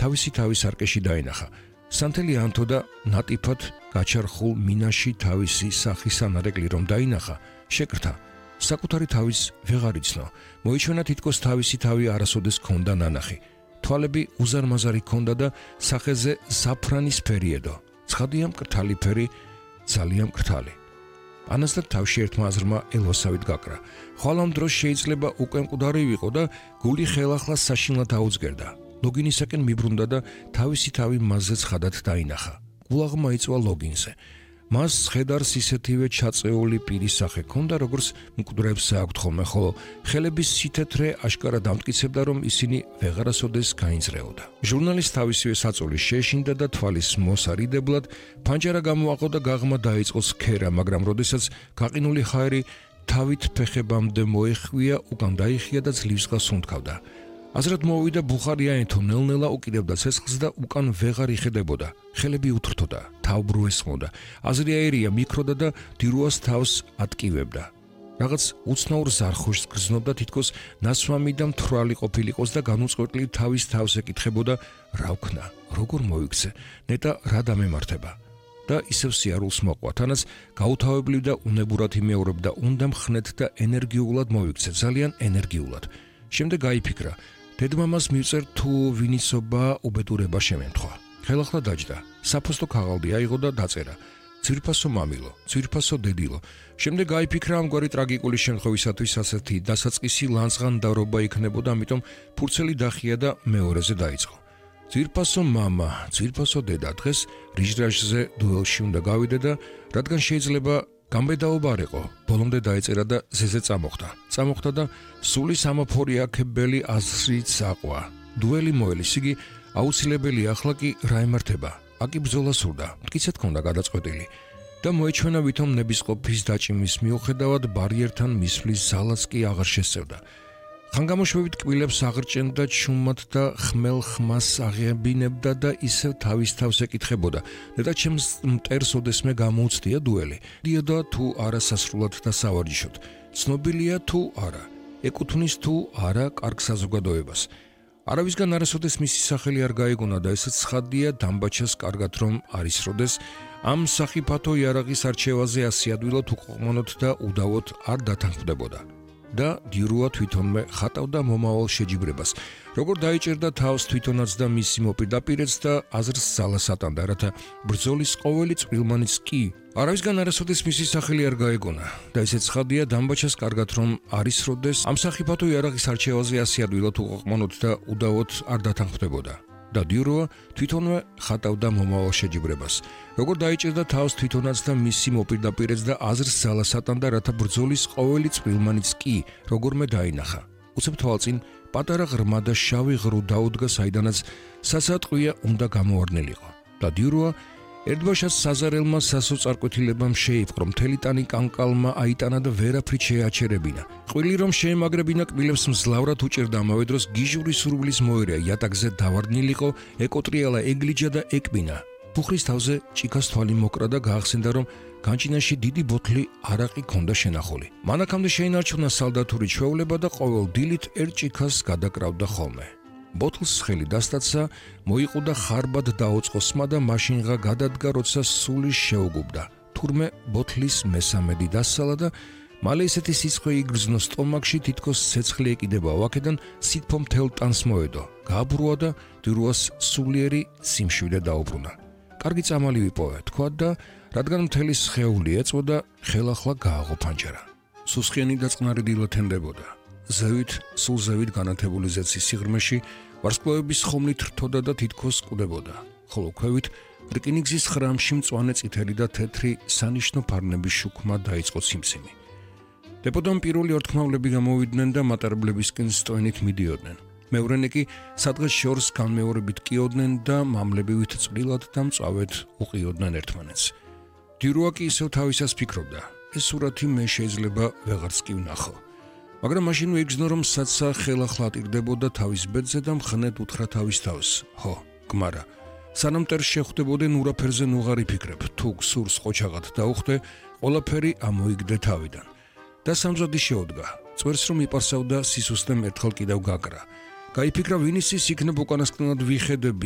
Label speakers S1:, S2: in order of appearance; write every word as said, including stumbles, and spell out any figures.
S1: თავისი თავის არკეში დაინახა. სანთელი ანთო და ნატიფად გაჩარხულ მინაში თავისი სახის ანარეკლი რომ დაინახა, შეკრთა. საკუთარი თავის ვეღარ იცნო. მოიჩვენა თითქოს თავისი თავი არასოდეს ჰქონდა ნანახი. თვალები უზარმაზარი ჰქონდა და სახეზე საფრანის ფერიედო. ცხადია მკრთალი ფერი, ძალიან მკრთალი. ანას და თავში ერთმა აზრმა ელვასავით გაკრა. ხვალ ამ დროს შეიძლება უკვე მკვდარი ვიყო და გული ხელახლა საშინლად აუძგერდა. ლოგინისაკენ მიბრუნდა და თავისი თავი მასზე ცხადად დაინახა. გულაღმა იწვა ლოგინზე. მას ხედარს ისეთივე ჩაწეული პირის სახე ჰქონდა, როგორც მკვდრებს აქვთ ხოლმე, ხოლო ხელების სითეთრე აშკარა დამტკიცებდა, რომ ისინი ვეღარასოდეს გაინძრეოდა. ჟურნალის თავისივე საწოლი შეეშინდა და თვალის მოსარიდებლად ფანჯარა გამოაყო და გაღმა დაიწყო სქერა, მაგრამ როდესაც გაყინული ჰაერი თავით ფეხებამდე მოეხვია, უკან დაიხია და ძლივსღას უნთქავდა. აზრად მოვიდა ბუხარია ენთო ნელ-ნელა უკიდებდა ცეცხლს და უკან ვეღარ იხედებოდა. ხელები უთრთოდა, თავბრუ ესხმოდა. აზრი აერია მიქროდა და დირუას თავს ატკივებდა. რაღაც უცნაურ ზარხუშს გრძნობდა, თითქოს ნასვამი და მთვრალი ყოფილიყოს და განუწყვეტლი თავის თავს ეკითხებოდა, რა ვქნა, როგორ მოიქცე, ნეტა რა დამემართება. და ისევ სიარულს მოყვა, თანაც გაუთავებლივ და უნებურად იმეორებდა, უნდა მხნეთ და ენერგიულად მოიქცე, ძალიან ენერგიულად. შემდეგ გაიფიქრა, დედმამას მივწერ თუ ვინიცობა უბედურება შემემთხვა. ხელახლა დაჯდა, საფოსტო ქაღალდი აიღო და დაწერა. ძვირფასო მამილო, ძვირფასო დედილო. შემდეგ გაიფიქრა, ამგვარი ტრაგიკული შემთხვევისათვის ასეთი დასაწყისი ლანძღანდარობა იქნებოდა, ამიტომ ფურცელი დახია და მეორეზე დაიწყო. ძვირფასო მამა, ძვირფასო დედა, დღეს რიჟრაჟზე დუელში უნდა გავიდე და რადგან შეიძლება გამბედაობა არ იყო, ბოლომდე დაეწერა და ზეზე წამოხდა. წამოხდა და სული სამოფორი აქებელი აზრით აყვა. დუელი მოელის, იგი აუცილებელი ახლა კი რა ემართება. აკი ბრძოლა სურდა, მტკიცედ ჰქონდა გადაწყვეტილი და მოეჩვენა ვითომ ნებისყოფის დაჭიმის მიუხედავად ბარიერთან მისვლის ზალაც კი აღარ შესწევდა. ხანგამოშვებით კბილებს აღრჭენდა ჩუმად და ხმელ ხმას აღებინებდა და ისევ თავის თავს ეკითხებოდა. ნეტა ჩემს მტერს ოდესმე გამოუცდია დუელი. დიოდა თუ არა სასრულად და სავარჯიშოდ. ცნობილია თუ არა. ეკუთვნის თუ არა კარგ საზოგადოებას. არავისგან არასოდეს მისი სახელი არ გაიგონა და ესეც ცხადია დამბაჩას კარგად რომ არის როდეს ამ სახიფათო იარაღის არჩევაზე ასე ადვილად უყოყმანოთ და უდავოდ არ დათანხმდებოდა. და დირუა თვითონმე ხატავდა მომავალ შეჯიბრებას. როგორ დაიჭერდა თავს თვითონაც და მისი მოპირდაპირეც და აზრს ზალას ატანდა, რათა ბრძოლის ყოველი წვრილმანიც კი არავისგან არასოდეს მისი სახელი არ გაეგონა. და ისეც ცხადია დამბაჩას კარგად რომ არის როდეს ამ სახიფათო იარაღის არჩევაზე ასე ადვილად უყოყმანოთ და უდავოდ არ დათანხმდებოდა. და დირუა თვითონვე ხატავდა მომავალ შეჯიბრებას. როგორ დაიჭერდა თავს თვითონაც და მისი მოპირდაპირეც და აზრს ზალას ატანდა, რათა ბრძოლის ყოველი წვრილმანიც კი როგორმე დაინახა. უცებ თვალწინ პატარა ღრმა და შავი ღრუ დაუდგა, საიდანაც სასატყვია უნდა გამოვარდნილიყო. და დირუა ერთბაშას საზარელმა სასოწარკვეთილებამ შეიპყრო, მთელი ტანი კანკალმა აიტანა და ვერაფრით შეაჩერებინა. ყვილი რომ შეემაგრებინა კბილებს მძლავრად უჭერდა, ამავე დროს გიჟური სურვილის მოერია, იატაკზე დავარდნილიყო, ეკოტრიალა, ეგლიჯა და ეკბინა. ბუხრის თავზე ჭიქას თვალი მოკრა და გაახსენდა, რომ განჭინაში დიდი ბოთლი არაყი ჰქონდა შენახული. მანქამდე შეინარჩუნა სალდათური ჩვეულება და ყოველ დილით ერთ ჭიქას გადაკრავდა ხოლმე. ბოთლს ხელი დასტაცა, მოიყუდა ხარბად დაუწყო სმა და მაშინღა გადადგა, როცა სული შეუგუბდა. თურმე ბოთლის მესამედი დასალა და მალე ისეთი სიცხე იგრძნო სტომაქში, თითქოს ცეცხლი ეკიდება ვაკედან, სითფო მთელ ტანს მოედო. გააბრუა და დირუას სულიერი სიმშვიდე დაუბრუნა. კარგი წამალი ვიპოვე, თქვა და რადგან მთელი სხეული ეწოდა, ხელახლა გააღო ფანჯარა. სუსხიანი და წყნარი დილა თენდებოდა. ზევით, სულ ზევით განათებული ზეცის სიღრმეში ვარსკვლავების ხომლით რთოდა და თითქოს კვდებოდა. ხოლო ქვევით რკინიგზის ხრამში მწვანე წითელი და თეთრი სანიშნო ფარნების შუქმა დაიწყო ციმციმი. დებოდან პირველი ორთქმავლები გამოვიდნენ და მატარებლებისკენ სტოენით მიდიოდნენ. მეორენი კი სადღაც შორს განმეორებით კიოდნენ და მამლებივით წვრილად და მწავედ უყიოდნენ ერთმანეთს. დირუა კი ისევ თავისას ფიქრობდა, ეს სურათი მე შეიძლება ვეღარც კი ვნახო. მაგრამ მაშინ ვიგრძნო, რომ საცა ხელახლა ატირდებოდა თავის ბედზე და მხნედ უთხრა თავის თავს. ჰო, გმარა, სანამ მტერს შეხვდებოდენ ურაფერზე ნუღარი ფიქრებ, თუ გსურს ყოჩაღად დაუხდე, ყველაფერი ამოიგდე თავიდან. და სამზადი შეოდგა. წვერს რომ იპარსავდა, სისუსტემ ერთხელ კიდევ გაკრა. გაიფიქრა, ვინისის იქნებ უკანასკნელად ვიხედები,